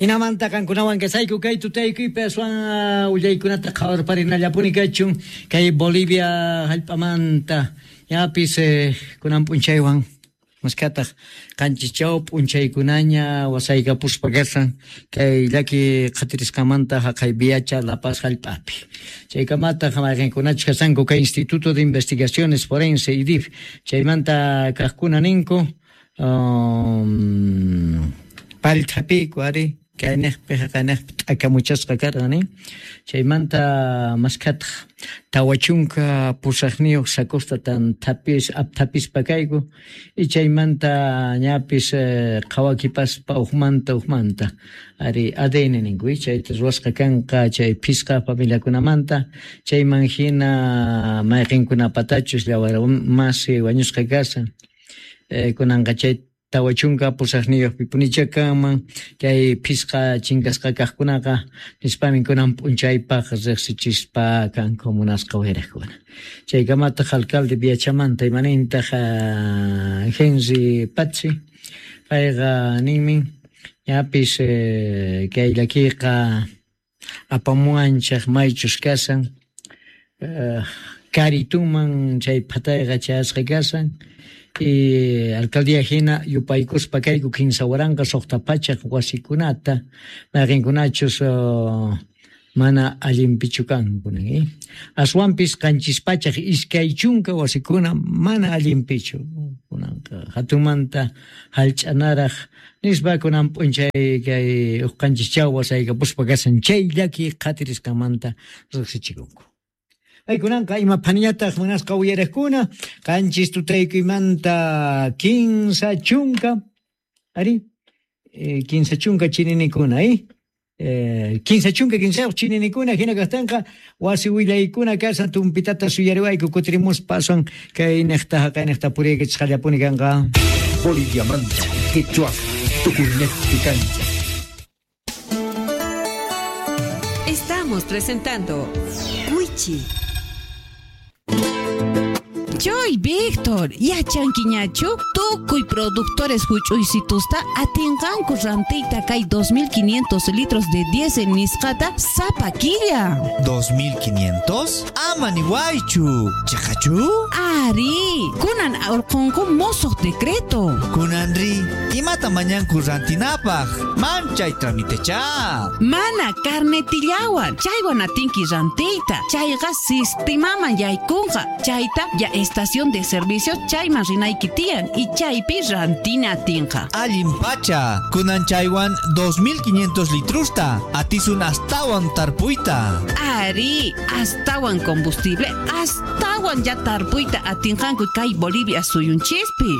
Hinamanta qankunawan kasayku kay tutaykuypi aswan willaykunata qhawarparinallapuni kachun kay Bolivia hallp'amanta ñapis kunan p'unchaywan maskhataq qanchischaw p'unchaykunaña wasaykapuspa kashan kay llaki qhatirisqamanta haqay Viacha La Paz hallp'api. Chaykamataq mayqinkunachus kashanku kay Instituto de Investigaciones Forense IDIF chaymanta kaqkuna ninku pallthapiku ari kayniqpi haqayniqpi t'akamuchasqa karqan nin chaymanta maskhataq 48 sacosta tan apthapispa kayku y chaymanta ñapis qhawakipaspa uqmanta ari ADN ninku chayta ruwasqa kanqa chay phisqa familiakunamanta chayman hina mayqinkunapatachus llawar masi wañusqa kashan kunanqa chay 48 pipunicha kanman kay phisqa chinkasqa kaqkunaqa nispamin kunan p'unchaypaq riqsichispa kanku munasqa wayrakkuna. Chaykamataq alcalde Viachamanta imanintaq Henry Patzi payqa ninmin ñapis kay llakiyqa apamuwanchaq maychus kashan karituman chay phatayqa chayasqa kashan y alcaldía hina yupaykuspa kayku 3,600 wasikunata mayqinkunachus mana allinpichu kanku nin aswanpis 720 wasikuna mana allinpichu kunanqa hatunmanta hallch'anaraq nispa kunan p'unchay kay uqanchis wasaykapuspa kashan chay llaki qhatirisqanmanta riqsichikunku. Aykunanqa ima phaniñataq munasqa uyariqkuna qanchis tutaykuymanta 30 ari 30 chininikuna 35 chininikuna hina kaqtinqa wasi willaykuna kashan tumpitata suyariwayku kutirimuspa aswan kay niqta haqay niqta puriykichisqallapuni kanqa. Boliviamanta Quechua tukuynejpi kancha. Estamos presentando Wichi. Joy Víctor, yachankiñachu tukuy productores huch'uysitusta atinqanku rantiyta kay 2500 litros de diésel nisqata sapa killa. 2500? Ama niwaychu. Chaqachu? Ari, kunan urqunku mosoq decreto. Kunanri, imata mañanku rantinapaq? Manchay tramitecha. Mana carnetillawan, chaywan atinki rantiyta. Chayqa sistemaman yaykunqa. Chayta ya estación de servicio chayman rinayki tiyan y chaypi rantina atinqa. Allin pacha, kunan chaywan 2500 litrusta, atisun astawan tarpuyta. Ari, astawan combustible, astawan ya tarpuyta atinqanku kay Bolivia suyunchispi.